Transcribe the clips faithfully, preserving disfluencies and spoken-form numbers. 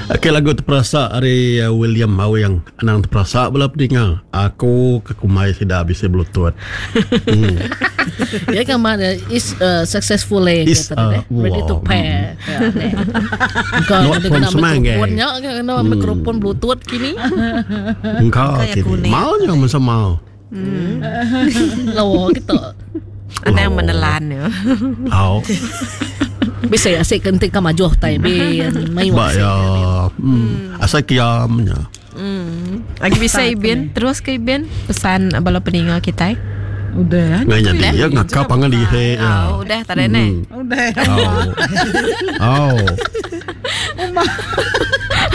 Okey, lagu terperasa ari William Awing. Anang terperasa bala pedinga. Aku ke kumbai sida bisi belutut. Hmm. Ya kan mak is uh, successful eh Is, kata dia, uh, ready to wow. pair. Ya, ne. Engkau Not ada from kena Semang, eh. mikrofonnya kena mikrofon bluetooth kini. Engkau Kayak kini. kuning. Mau nya masa mau. Lawa kita. Anang menelan ya. Au. Bisa asik kentik ka majuh tai bi mai Ba ya. Hmm. Asal kiamnya. Hmm. Lagi bisa Ibin, terus ke Ibin pesan bala peninga kita. Udah. Ngai jadi ya ngakap pangan dihe ya. Oh, udah tadi ne. Udah. Au. Au.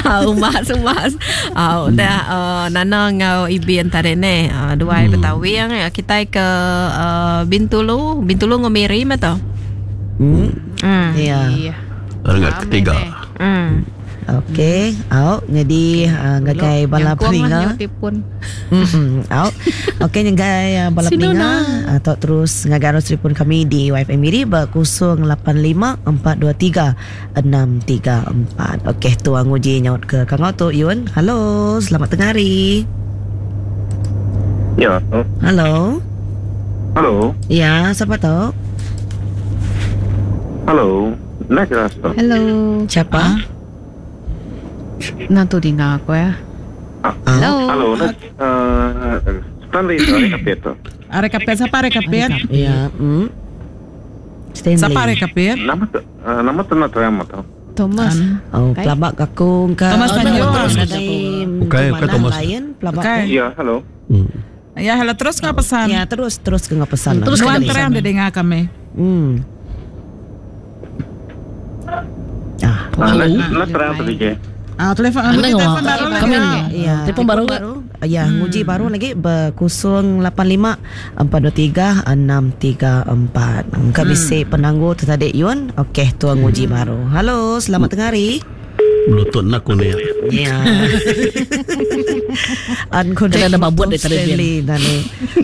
Ah, umas umas. Ah, udah uh, Nana ngau Ibin tadi ne. Uh, dua hmm. Betawi yang ya kita ke uh, Bintulu, Bintulu ngomiri mah to. Hmm. Hmm. Ya. Renggat ketiga. Hmm. Okey, au jadi uh, ngagai bala peninga. Pun. Hmm, au. Okey ngagai uh, bala peninga atau terus ngagai arus telefon kami di Y F M Miri ber kosong lapan lima empat dua tiga enam tiga empat. Okey, tuang uji nyaut ke kangau tu Yun. Halo, selamat tengah hari. Ya. Halo. Halo. Ya, siapa tu? Halo. Nak rasa. Hello. Siapa? Nak tu dengar aku ya. Hello. Halo. Nak uh, Stanley dari Kapit. Are kapit siapa are kapit? Ya, hmm. Stanley. Siapa are kapit? Nama tu uh, nama tu nak terima tu. Thomas. Oh, pelabak aku ke Thomas Tanjung. Bukan, bukan Thomas. Lain pelabak. Bukan. Ya, halo. Hmm. Ya, halo terus ngapa pesan? Ya, terus terus ke ngapa pesan. Terus Nuan ke terang dia dengar kami. Hmm. Ah, Uh, nak nak terang tu je. Ah, telefon, Anda telefon ngawak. baru lagi. Kami Ya, Telefon baru ke? Ya, hmm. nguji baru lagi ber kosong lapan lima empat dua tiga enam tiga empat. Engkau hmm. bisi penangguh tu tadi Yun. Okey, tuang nguji hmm. baru. Halo, selamat tengah hari. Melutut nak ku ni. Ya. Unconnected. Kena ada babut dari tadi, Stanley tadi.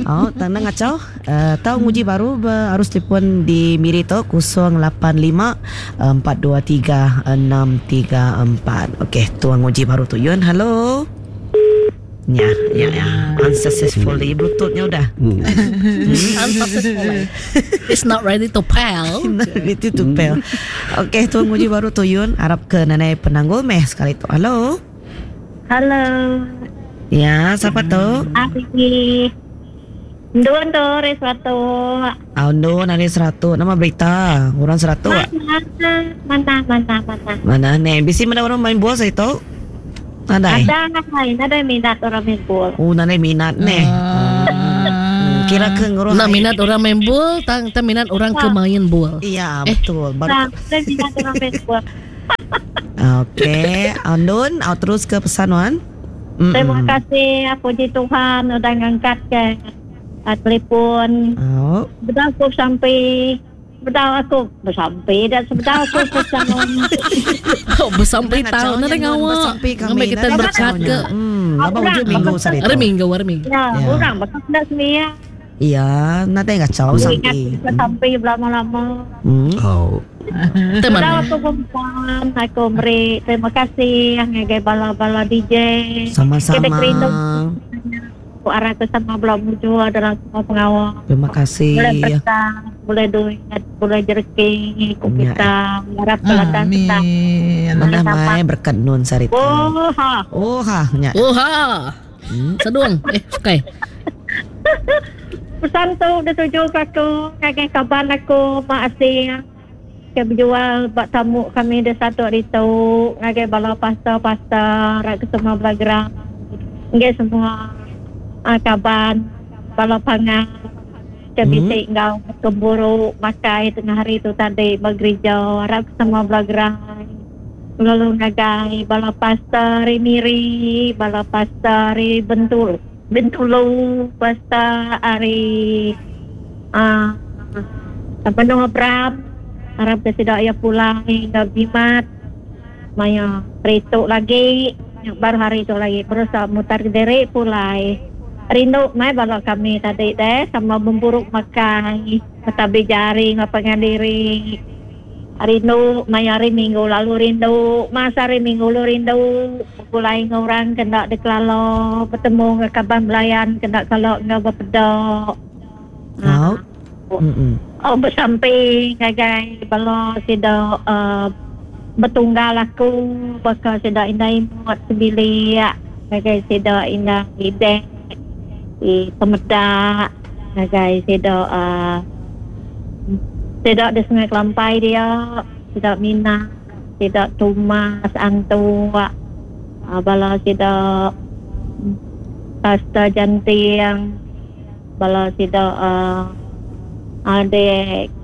Oh, tanah ngacau. Uh, tahu nguji baru ber, arus telefon di Miri tu kosong lapan lima empat dua tiga enam tiga empat. Okey, tuang nguji baru tu Yun. Halo. Ya, ya, ya. Unsuccessfully bluetoothnya udah. Hmm. Unsuccessful. It's not ready to pair. Itu tu pel. Okey, tuang nguji baru tu Yun. Harap ke nanai penanggul meh sekali tu. Halo. Halo. Ya, siapa tu? Ari. Ndun tu hari satu. Aundo nari seratus. Nama berita orang seratus. Mana mana mana mana. Mana ni? Bisi mana orang main bola saya tu? Nadai. Ada ada minat orang main bola. Oh, nadai minat ni. Hmm, kira ke nguruh. Nak minat orang main bola, tang tak minat orang ke main bola. Iya, betul. Baru. Nah, ada minat orang main bola. Okey, Andun, au terus ke pesan Wan. Mm-mm. Terima kasih, puji Tuhan udah ngangkat ke uh, telefon. Oh. Betul aku sampai betul aku bersampai dan sebetul aku pesan. Oh, bersampai tahun nak ngawak. Bersampai kami. Ngambil kita berkat ke. Hmm, lama ujung minggu sari Hari minggu, hari minggu. Ya, orang bakal nak semia. Iya, nanti ngacau sampai. Sampai berlama-lama. Hmm. Oh. Teman. Betul aku perempuan, aku beri terima kasih ngagai bala-bala D J. Sama-sama. Kita kerindu. Aku arah ke sama bela mujur dalam semua pengawal. Terima kasih. Boleh berkat, boleh duit, boleh jereki, ku kita harap kelatan kita. Amin. Mana mai berkat nun sarita. Oh ha. Oh ha, nya. Oh ha. Sedung. Eh, sukai. Pesan tu dah tuju ke aku, ngagai kaban aku, mak asing. Ke berjual bak tamu kami di satu hari tu, ngagai bala pasta-pasta, rak ke semua belagerang. Ngagai semua uh, kaban, bala pangan. Ke bisik ngau kemburu makai tengah hari tu tadi bergereja, rak ke semua belagerang. Lalu ngagai bala pasta ri Miri, bala pasta ri Bentul, Bentulu, pasta ari ah uh, Bandung Abram. Harap ke tidak ya pulang hingga jimat. Maya hari lagi, baru hari itu lagi berusaha mutar diri pulai. Rindu mai balak kami tadi deh sama memburuk makan, tetapi jari ngapangan diri. Rindu maya hari minggu lalu rindu masa hari minggu lu rindu begulai dengan orang kena dikelala bertemu dengan kaban belayan kena kalau ngau berpedok. Oh. Mm-mm. Oh bersamping ngagai bala sida uh, betunggal aku bakal sida indai muat sebilik ngagai sida indai idek di pemedak ngagai sida uh, sida di Sungai Kelampai dia sida Mina sida Tumas Antu uh, bala sida Pasta Janting bala sida uh, adik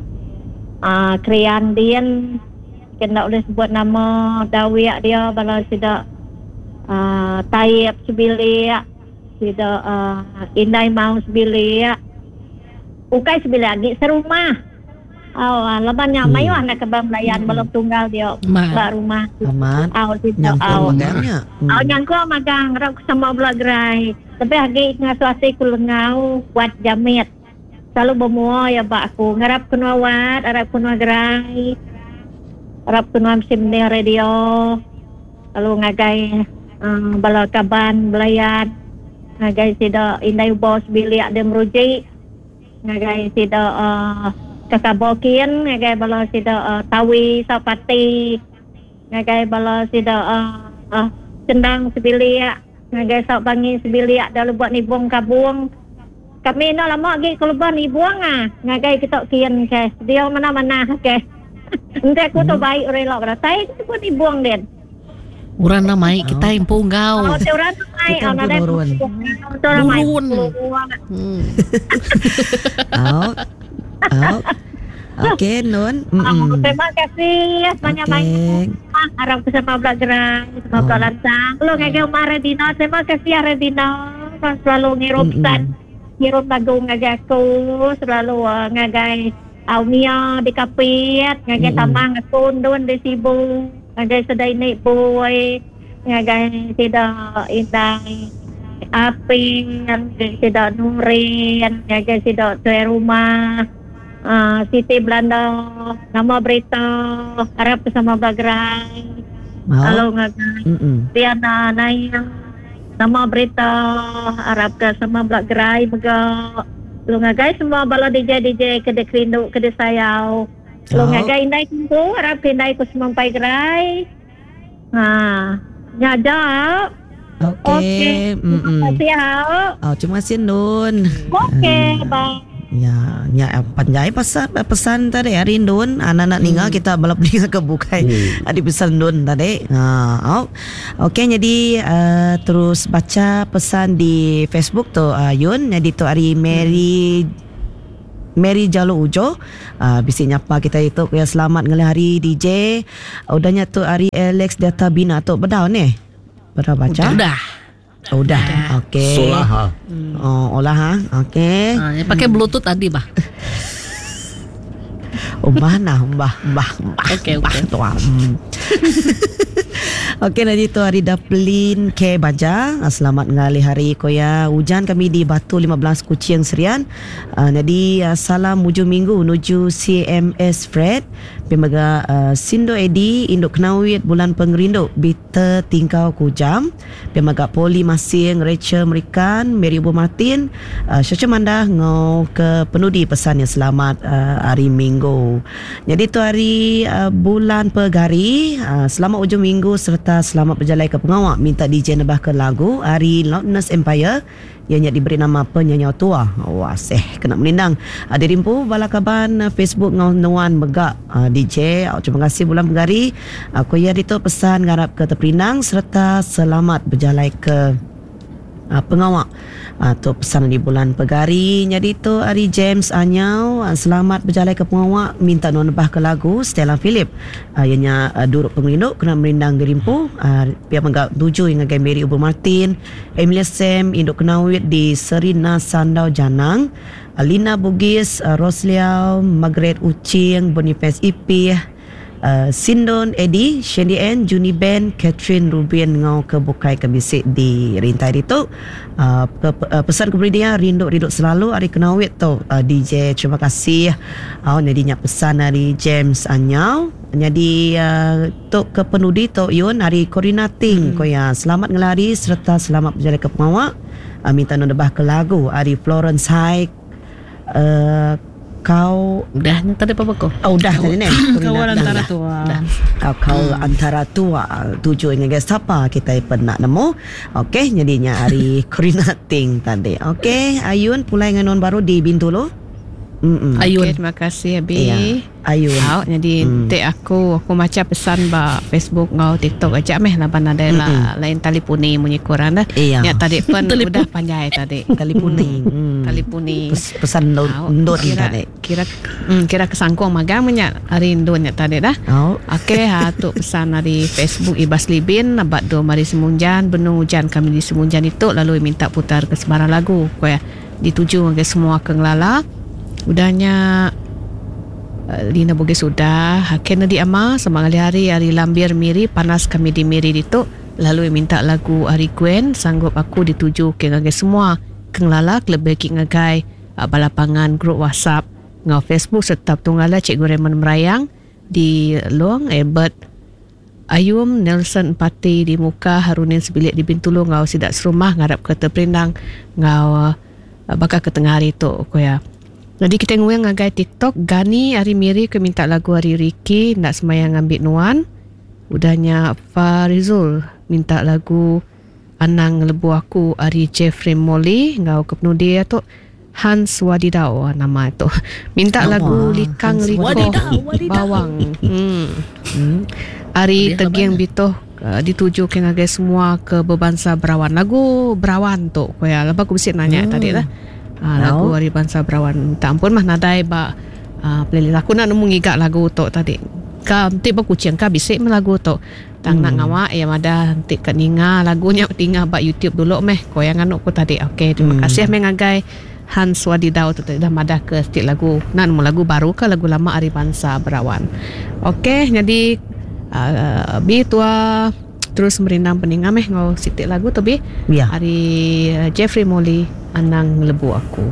uh, Krian Din kena boleh sebut nama dawiak dia bala sida uh, Taib sebilik sida uh, Indai Mau sebilik ukai sebilik lagi serumah. Oh, laban nya mayuh anak kebang belayan hmm. belum tunggal dia ba rumah. Amat. Aw sida aw magangnya. Aw nyangko magang rap sama bela gerai. Tapi agi ngasuh ku lengau buat jamit. Selalu bermua ya bak aku ngarap kena wat, arap kena gerai. Arap kena sim ni radio. Lalu ngagai um, bala kaban belayan. Ngagai sida indai bos bilik dia merujuk. Ngagai sida uh, kakabokin ngagai bala sida uh, tawi sapati ngagai bala sida uh, uh, cendang sebilik ngagai sak bangi sebilik dalam buat nibung kabung kami nak lama lagi kalau buat nibung ah ngagai kita kian ke dia mana-mana ke nanti aku tu baik relak beratai kita buat nibung den orang nak mai kita empu ngau oh orang nak mai orang nak turun oh. Oh. Okey Nun. Mm-mm. Terima kasih banyak-banyak. Harap bersama Belak Gerang, sama Belak Lantang. Lu ngagai Umar Redina, terima kasih Redina. Selalu ngirim pesan, ngirim lagu ngagai aku, selalu uh, ngagai Aumia di Kapit, ngagai Tamang aku Dun di Sibu, ngagai Sedai Nik Boy, ngagai Sida Indai Apin, ngagai Sida Nurin, ngagai Sida Tuai Rumah. Uh, Siti Belanda, nama berita, harap bersama Bagrai. Halo ngagai Tiana Nayang, nama berita, harap bersama Bagrai mega. Lu ngagai semua bala D J D J ke dek rindu ke dek sayau. Lu ngagai indai kumpu, harap indai ku semampai gerai. Ha, nyajak. Okey. Terima kasih. Oh, terima kasih Nun. Okey, bye. Ya, ya panjai pesan pesan tadi hari Nun anak-anak hmm. ninga kita balap ninga ke bukai hmm. Adi pesan Nun tadi. Ha, oh. Okey, jadi uh, terus baca pesan di Facebook tu uh, Yun, jadi tu hari Mary hmm. Mary Jalo Ujo uh, bisi nyapa kita itu ya selamat ngalih hari D J. Udahnya tu hari Alex Data Bina tu bedau ni. Bedau baca. Udah. Udah, okey. Solah. Oh, olah ha. Okey. Ha, pakai Bluetooth tadi, bah. Umbah nah, umbah, umbah, umbah. Okey, okey. Hmm. Okey, nanti tu hari Daplin K Baja. Selamat ngalih hari koya. Hujan kami di Batu lima belas Kuching Serian. Uh, jadi uh, salam hujung minggu menuju C M S Fred. Pemaga uh, Sindo Edi Induk Kenawit Bulan Pengerindu Bita Tingkau Kujam. Pemaga Poli Masing Rachel Merikan Mary Ubu Martin uh, Syacha Mandah ngau ke penudi pesan yang selamat uh, hari minggu. Jadi tu hari uh, bulan Pegari. Uh, selamat hujung minggu serta selamat berjalan ke pengawak. Minta D J nebah ke lagu hari Loudness Empire ianya diberi nama Penyanyi Tua. Wah, seh kena melindang. Ada rimpu bala kaban Facebook ngau nuan megak D J. Terima kasih bulan Pegari. Aku ya itu pesan ngarap ke Teperinang serta selamat berjalan ke uh, pengawak. Atau uh, pesan di bulan Pegari. Jadi tu hari James Anyau, uh, selamat berjalan ke pengawak, minta nuan nebah ke lagu Stella Philip. Uh, ianya uh, Duruk Pengerindu kena merindang gerimpu. Uh, pihak menggak tuju yang ngagai Mary Ubu Martin, Emilia Sam, Induk Kenawit di Serina Sandau Janang, uh, Lina Bugis, uh, Rosliau, Margaret Ucing, Boniface Ipih, uh, Sindon Eddie, Shandy Ann, Juni Ben, Catherine Rubin ngau ke bukai ke bisi di rintai ditu. Uh, ke, uh, pesan ke beri dia rindu-rindu selalu hari kenawit tu uh, D J terima kasih. Oh, jadi nyak pesan dari James Anyau. Jadi uh, tu ke penudi tu Yun hari Corina Ting hmm. Koya selamat ngelari serta selamat berjalan ke pengawak. Uh, minta nundebah ke lagu hari Florence High. Uh, kau udah tadi apa kau? Oh, udah tadi ni. Kau antara tua. Kau kau hmm. antara tua tuju dengan siapa kita pernah nemu. Okey, jadinya hari Corina Ting tadi. Okey, Ayun pulai dengan non baru di Bintulu. Mm-mm. Ayun. Okay, terima kasih Abi. Ya, Ayun. Au, jadi mm. tek aku aku baca pesan ba Facebook ngau TikTok aja meh laban ada lah lain talipuni munyi kurang dah. Iya. Ya tadi pun udah panjai tadi. Talipuni. Mm. Talipuni. Pes, pesan ndon tadi. Kira mm, kira kesangkung magang menyak hari ndon nya tadi dah. Oh. Okey, ha tu pesan dari Facebook Ibas Libin abad do mari Semunjan benung hujan kami di Semunjan itu lalu minta putar ke sembarang lagu ko ya dituju ke semua ke ngelala. Udahnya uh, Lina Bugis sudah Kennedy Ama sama kali hari hari Lambir Miri panas kami di Miri itu lalu minta lagu Ari Gwen sanggup aku dituju ke ngagai semua kenglala lebih ki ngagai uh, balapangan grup WhatsApp ngau Facebook serta tunggala Cikgu Raymond Merayang di Luang Albert Ayum Nelson Pati di Muka Harunin Sebilik di Bintulu ngau sidak serumah ngarap ke terperindang ngau uh, bakal ke tengah hari tu ko ya. Jadi kita nguang ngagai TikTok Gani hari Miri ke minta lagu hari Ricky nak semayang ambil nuan. Udahnya Farizul minta lagu Anang Lebu Aku hari Jeffrey Molly ngau ke penudi tu Hans Wadidau nama tu. Minta oh, lagu Likang Liko Wadidau, Wadidau. Bawang. Hmm. Hmm. Hari Tegiang Bitoh uh, dituju ke ngagai semua ke berbangsa Berawan. Lagu Berawan tu ko ya. Lepas aku bisik nanya hmm. tadi lah. Ha, lagu hari bangsa Berawan. Tak ampun mah nadai ba uh, playlist aku nak nemu ngigak lagu tu tadi. Ka ti ba kucing ka bisik mah lagu tu. Tang hmm. nak ngawak ya madah ti kat ninga lagunya tinggal ba YouTube dulu meh. Ko yang anu ku tadi. Okey, terima hmm. kasih meh ngagai Hans Wadidau tu tadi dah madah ke setiap lagu. Nak nemu lagu baru ke lagu lama hari bangsa Berawan. Okey, jadi uh, bi tua terus merindang peninga meh ngau sitik lagu tu bi. Ya. Hari uh, Jeffrey Molly Anang Lebu Aku.